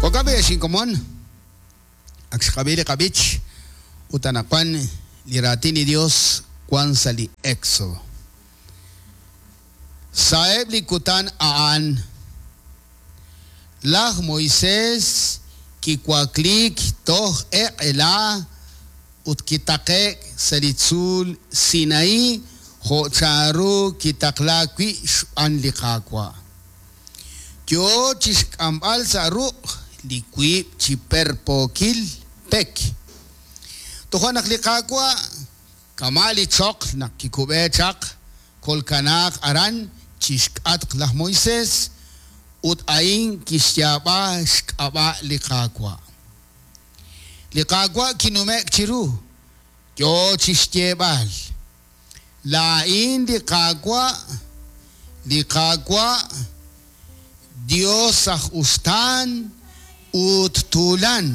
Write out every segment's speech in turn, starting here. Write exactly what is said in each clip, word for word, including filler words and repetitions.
Jo'kan b'i' ex inkomon, ak xqab'i li qab'ich ut anaqwan li raatin li Dios wan sa' li Éxodo. Sa'eb' li kutan a'an, laj Moisés kiwakliik toj eq'ela ut kitaqe'k sa' li tzuul Sinaí jo' chanru kitaqlaak wi' xb'aan li Qaawa'. Yo chi xk'amb'al sa' ruq' li wiib' chi perpookil pek. Toja' naq li Qaawa' kama' li choql naq kikub'e chaq kolkanaaq aran chi xk'atq laj Moisés ut a'in kixyaab'a xk'ab'a' li Qaawa'. Li Qaawa' kinume'k chiru, yo chi xyeeb'al: Laa'in li Qaawa', li Qaawa', Dios aj uxtaan ut tuulan,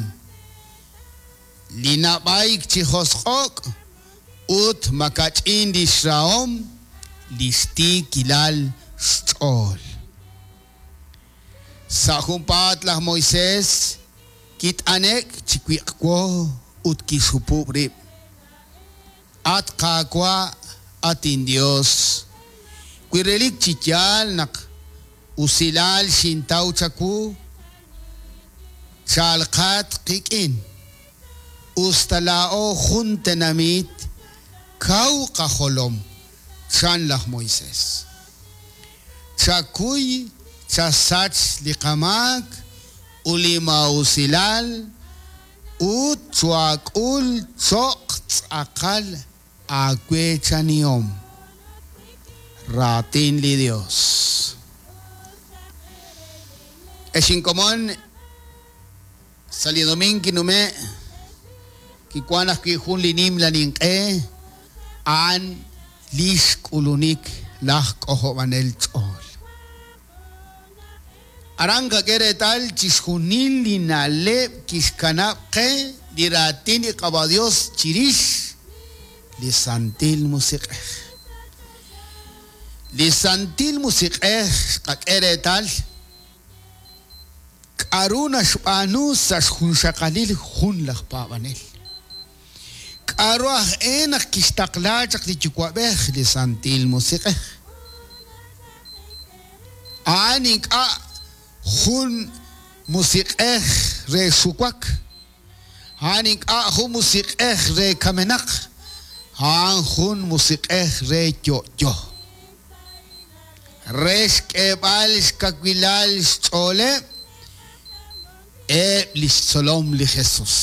li nab'ayk chi josq'ok' ut makach'in li xrahom li xtiikilal xch'ool. Sa' junpaat laj Moisés kit'anek chi wiq'wo ut kixhupub' rib'. At Qaawa', at inDios, wi relik chi yaal naq usilal xintaw chawu, chalqat qik'in, usta laa'o jun tenamit kaw qajolom, chan laj Moisés. Chakuy chasach li qamaak ut li maa'usilal ut chwaak'ul cho'q tz'aqal aaweechanihom. Raatin li Dios. Ex inkomon, sa' li domiin kinume' kiwank ajwi' jun li nimla ninq'e a'an li xk'ulunik laj k'ojob'anel ch'ool. Aran qak'e reetal chixjunil li na'leb' kixkanab' qe li raatin li Qaawa' Dios chirix li Santil Musiq'ej. Li Santil Musiq'ej xqak'e reetal k'aru naxb'aanu sa' xjunxaqalil jun laj paab'anel. K'aru aj e naq kixtaqla chaq li Yuwa'b'ej li Santil Musiq'ej. A'an ink'a' jun musiq'ej re xuwak, a'an ink'a' jun musiq'ej re kamenaq, a'an jun musiq'ej re yo'yo. Re xk'eeb'al xkawilal xch'ooleb' eb' li xtzolom li Jesús.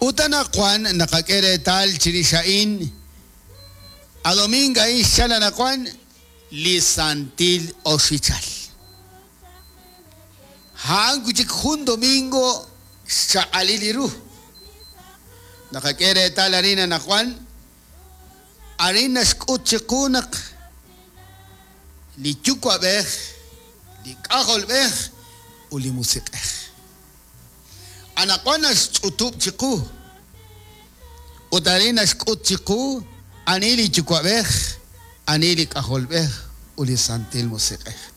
Ut anaqwan naqak'e reetal chirix a'in, a domingo a'in xchal anaqwan li Santil Oxichal. A'an wi' chik jun domingo xchaq'alil li ru. Naqak'e reetal arin anaqwan, arin naxk'ut chiqu naq li Yuwa'b'ej, li K'ajolb'ej ut li Musiq'ej. Anaqwan naxch'utub' chiqu ut arin naxk'ut chiqu ani li Yuwa'b'ej, ani li K'ajolb'ej ut li Santil Musiq'ej.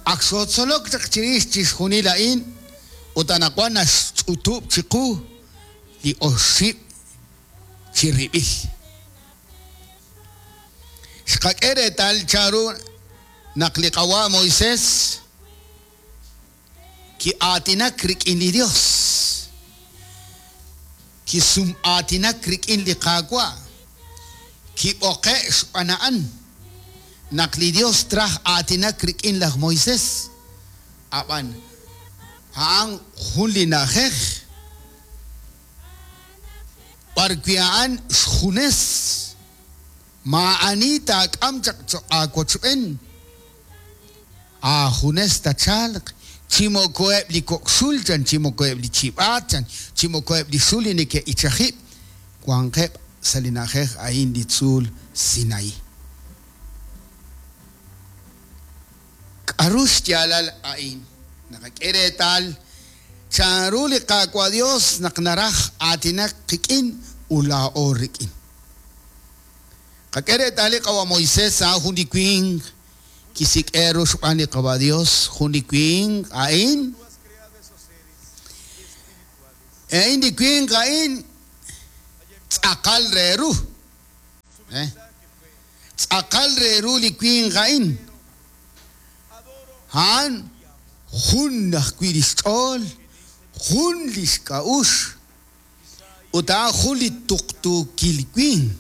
Ak xootzolok chaq chirix chixjunil a'in ut anaqwan naxch'utub' chiqu li oxib' chi rib'il. Xqak'e reetal chanru naq li Qawa' Moisés ki'aatinak rik'in li Dios, kisum'aatinak rik'in li Qaawa', kib'oqe' xb'aan a'an naq li Dios traj aatinak rik'in laj Moisés. Ab'an a'an jun li na'ajej b'ar wi' a'an xjunes maa'ani taak'am chaq cho'q aawochb'en, aajunes tachalq chi moko eb' li kok' xul chan, chi moko eb' li chib'aat chan, chi moko eb' li xul li neke'ichajib' wanqeb' sa' li na'ajej a'in li tzuul Sinaí. K'aru xyaalal a'in? Naqak'e reetal chanru li Qaawa' Dios naq naraj aatinak qik'in ut laa'o rik'in. Qak'e reetal li Qawa' Moisés a'an jun li winq kisik'e ru xb'aan li Qaawa' Dios, jun li winq a'in A'in li winq a'in tz'aqal re ru. Eh? Tz'aqal re ru li winq a'in. A'an jun ajwi' li xch'ool, jun li xk'a'uxl, ut a'an jun li tuqtuukil winq.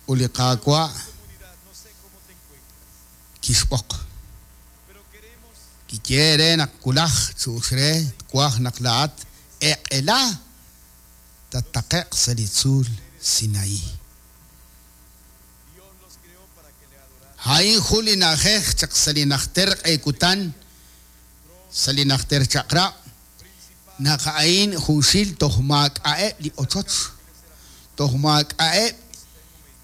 Ut li Qaawa' kixb'oq. Kiye re naq wulaj chu'ux re twaj naq laa'at eq'ela tattaqe'q sa' li tzuul Sinaí. A'in jun li na'ajej chaq sa' li najter q'e kutan, sa' li najter chaq'rab', naq a'in junxil toj maak'a'eb' li ochoch, toj maak'a'eb'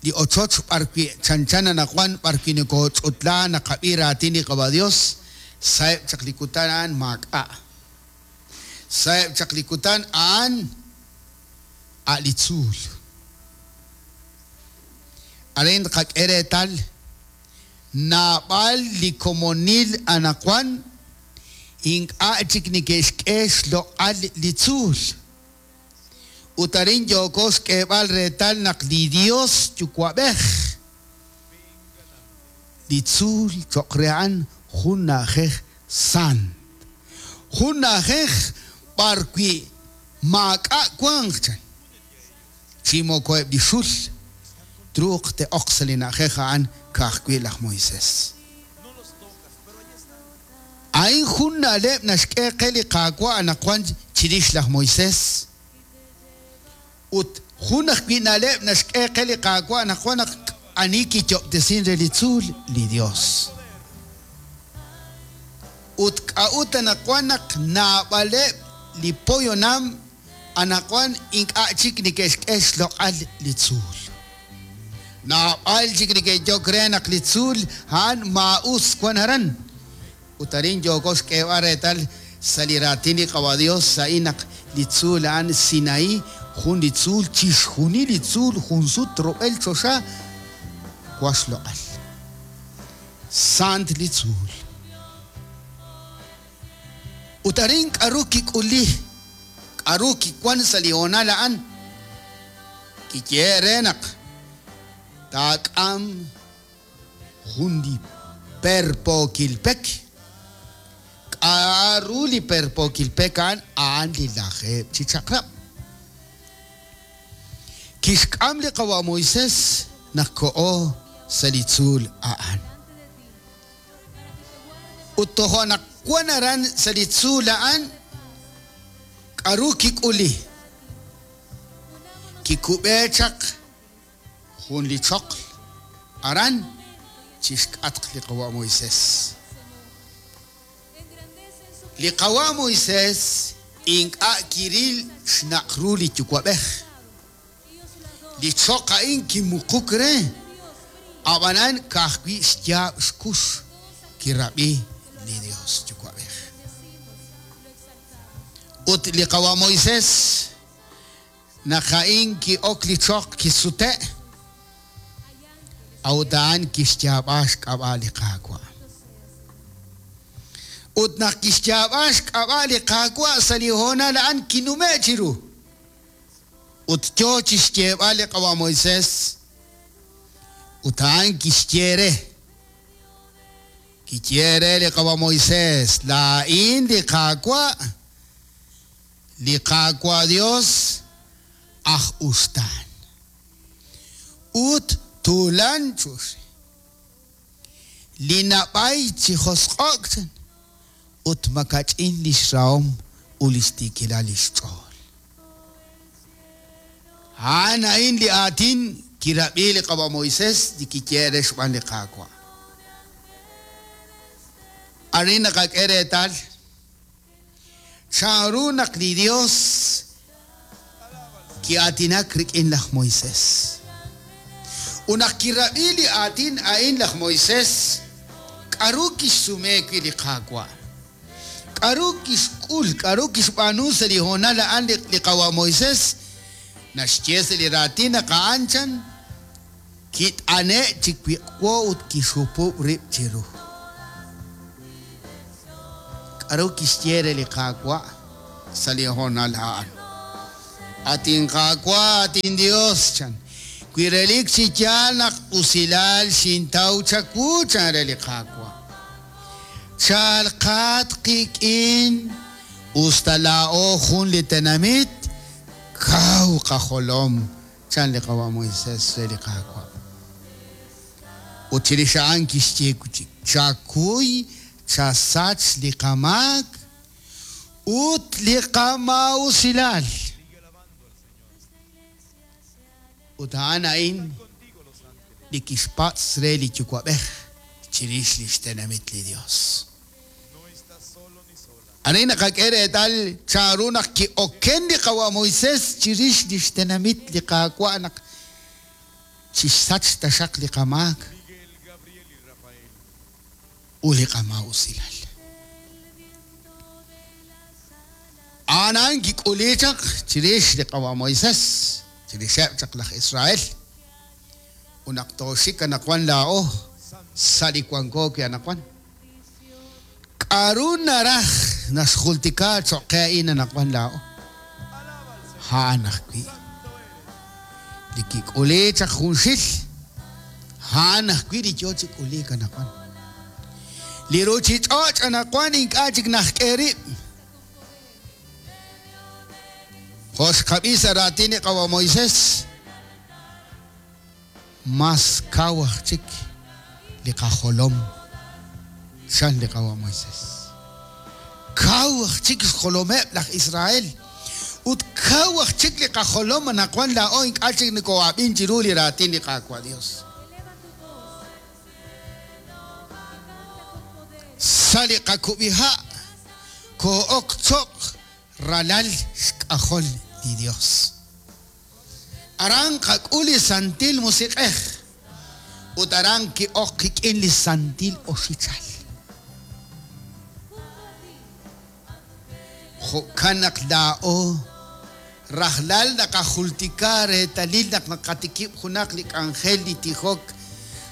li ochoch b'arwi' chanchan anaqwan b'arwi' nokooch'utla naqab'i raatin li Qaba' Dios, sa'eb' chaq li kutan a'an maak'a'. Sa'eb' chaq li kutan a'an a' li tzuul. Arin tqak'e reetal naab'al li komonil anaqwan ink'a' chik neke'xk'e xloq'al li tzuul. Ut arin yooko xk'eeb'al reetal naq li Dios Yuwa'b'ej li tzuul cho'q re a'an jun na'ajej sant. Jun na'ajej b'arwi' maak'a' wanq chan. Chi moko eb' li xul truuq te'oq sa' li na'ajej a'an ka'ajwi' laj Moisés. A'in jun na'leb' naxk'e qe li Qaawa' anaqwan chirix laj Moisés. Ut jun ajwi' na'leb' naxk'e qe li Qaawa' anaqwan naq ani kiyob'tesin re li tzuul li Dios. Ut k'a'ut anaqwan naq naab'aleb' li poyonam anaqwan ink'a' chik neke'xk'e xloq'al li tzuul. Naab'al chik neke'yok re naq li tzuul a'an maa'us wan aran. Ut arin yooko xk'eeb'al reetal sa' li raatin li Qaba' Dios a'in naq li tzuul a'an Sinaí, jun li tzuul chixjunil li tzuul jun sut rub'el choxa wan xloq'al. Sant li tzuul. Ut arin k'aru kik'uli, k'aru kiwan sa' li hoonal a'an, kiye re naq taak'am jun li perpookil pek. K'aru li perpookil pek a'an, a'an li lajeeb' chi chaq'rab'. Kixk'am li Qawa' Moisés naq ko'o sa' li tzuul a'an. Ut tojo' naq wan aran sa' li tzuul a'an, k'aru kik'uli. Kikub'e chaq jun li choql aran chixk'atq li Qawa' Moisés. Li Qawa' Moisés ink'a' kiril xnaq ru li Yuwa'b'ej. Li choq a'in kimuquk re, ab'anan ka'ajwi' xyaab' xkux kirab'i li Dios Yuwa'b'ej. Ut li Qawa' Moisés naq a'in ki'ok li choq kisute', a'ut a'an kixyaab'a xk'ab'a' li Qaawa'. Ut naq kixyaab'a xk'ab'a' li Qaawa' sa' li hoonal a'an kinume' chiru. Ut yo chixyeeb'al li Qawa' Moisés, ut a'an kixye re. Kiye re li Qawa' Moisés, laa'in li Qaawa', li Qaawa' Dios aj uxtaan. Ut tuulan chuxi. Li nab'ay chi josq'o'k chan, ut makach'in li xrahom ut li xtiikilal li xch'ool. A'an a'in li aatin kirab'i li Qawa' Moisés li kiye re xb'aan li Qaawa'. Arin naqak'e reetal chanru naq li Dios ki'aatinak rik'in laj Moisés. Ut naq kirab'i li aatin a'in laj Moisés, k'aru kixsume wi' li Qaawa'. K'aru kixk'ul, k'aru kixb'aanu sa' li hoonal a'an li Qawa' Moisés, naxye sa' li raatin naq a'an chan kit'ane' chi wiq'wo ut kixhupub' rib' chiru. K'aru kixye re li Qaawa' sa' li hoonal a'an? At inQaawa', at inDios, chan. Wi relik chi yaal naq usilal xintaw chawu, chan re li Qaawa'. Chalqat qik'in usta laa'o jun li tenamit kaw qajolom, chan li qawa' Moisés re li Qaawa'. Ut chirix a'an kixye wi' chik, chakuy chasach li qamaak ut li qamaa'usilal. Ut a'an a'in li kixpatz' re li Yuwa'b'ej chirix li xtenamit li Dios. Arin naqak'e reetal chanru naq ki'oken li qawa' Moisés chirix li xtenamit li Qaawa' naq chixsach taxaq li qamaak ut li qamaa'usilal. A'an a'an kik'uli chaq chirix li qawa' Moisés, chirixeb' chaq laj Israel. Ut naq tooxik anaqwan laa'o sa' li wanko wi' anaqwan. K'aru naraj naxjultika cho'q qe a'in anaqwan laa'o? A'an ajwi' li kik'uli chaq junxil, a'an ajwi' li yo chi k'uliik anaqwan. Li ruchich'och' anaqwan ink'a' chik najk'e rib'. Jo' xqab'i sa' raatin li qawa' Moisés, mas kaw aj chik li qajolom, chan li qawa' Moisés. Kaw aj chik xjolomeb' laj Israel ut kaw aj chik li qajolom anaqwan laa'o ink'a' chik nokoo'ab'in chiru li raatin li Qaawa' Dios. Sa' li qakub'iha' koo'ok cho'q ralal xk'ajol li Dios. Aran qak'ul li Santil Musiq'ej ut aran ki'ok qik'in li Santil Oxichal. Jo'kan naq laa'o rajlal naqajultika reetalil naq naqatikib' junaq li k'anjel li tijok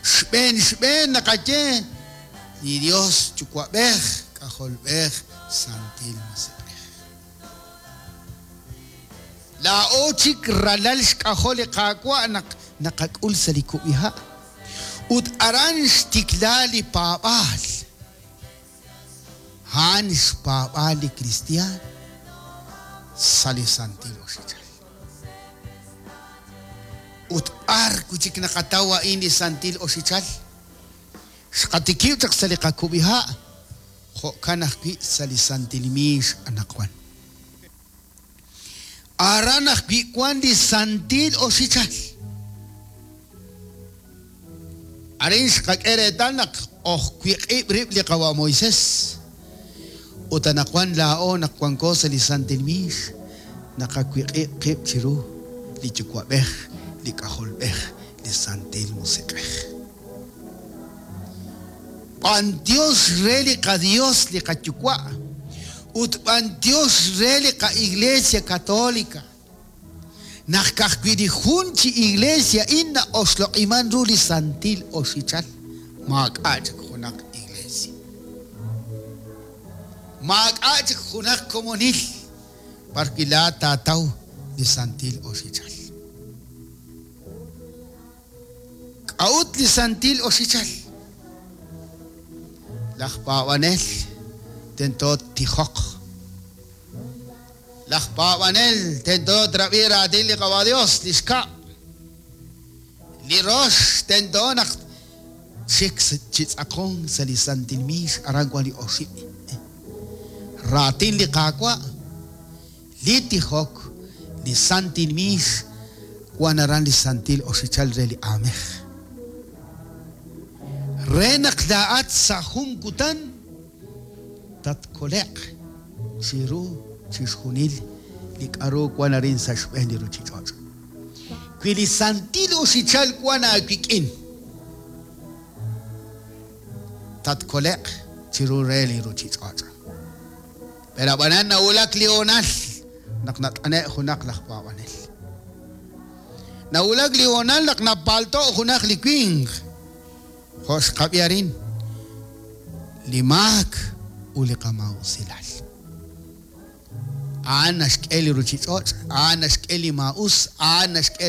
xb'een xb'een naqaye li Dios Yuwa'b'ej, K'ajolb'ej, Santil Musiq'ej. Laa'o chik ralal xk'ajol li Qaawa' naq naqak'ul sa' li kub'iha'. Ut aran xtikla li paab'aal. A'an xpaab'aal li kristiaan sa' li Santil Oxichal. Ut b'ar wi' chik naqataw a'in li Santil Oxichal? Xqatikib' chaq sa' li qakub'iha', jo'kan ajwi' sa' li Santil Miix anaqwan. Aran ajwi' wan li Santil Oxichal. Arin xqak'e reetal naq ojwiq'ib' rib' li qawa' Moisés. Ut anaqwan laa'o naq wanko sa' li Santil Miix, naqawiq'ib' qib' chiru li Yuwa'b'ej, li K'ajolb'ej, li Santil Musiq'ej. B'antiox re li qaDios li qaYuwa' ut b'antiox re li qa'Iglesia Católica. Naq ka'ajwi' li jun chi iglesia in na'oxloq'iman ru li Santil Oxichal, maak'a' chik junaq iglesia. Maak'a' chik junaq komonil b'ar wi' laa'at taataw li Santil Oxichal. K'a'ut li Santil Oxichal? Laj paab'anel tento tijoq. Laj paab'anel tento trab'i raatin li Qawa' Dios, li xkab'. Li rox tento naq chik chi tz'aqon sa' li Santil Miix aran wan li oxib'. Raatin li Qaawa', li tijok, li Santil Miix, wan aran li Santil Oxichal re li aamej. Re naq laa'at sa' jun kutan tatkole'q chiru chixjunil li k'aru wan arin sa' xb'een li ruchich'och'. Wi li Santil Oxichal wan aawik'in, tatkole'q chiru re li ruchich'och'. Pero ab'anan nawulak li hoonal naq nat'ane' junaq laj paab'anel. Nawulak li hoonal naq napalto' junaq li winq. Jo' xqab'i arin, li maak ut li qamaa'usilal. A'an naxk'e li ruchich'och', a'an naxk'e li maa'us, a'an naxk'e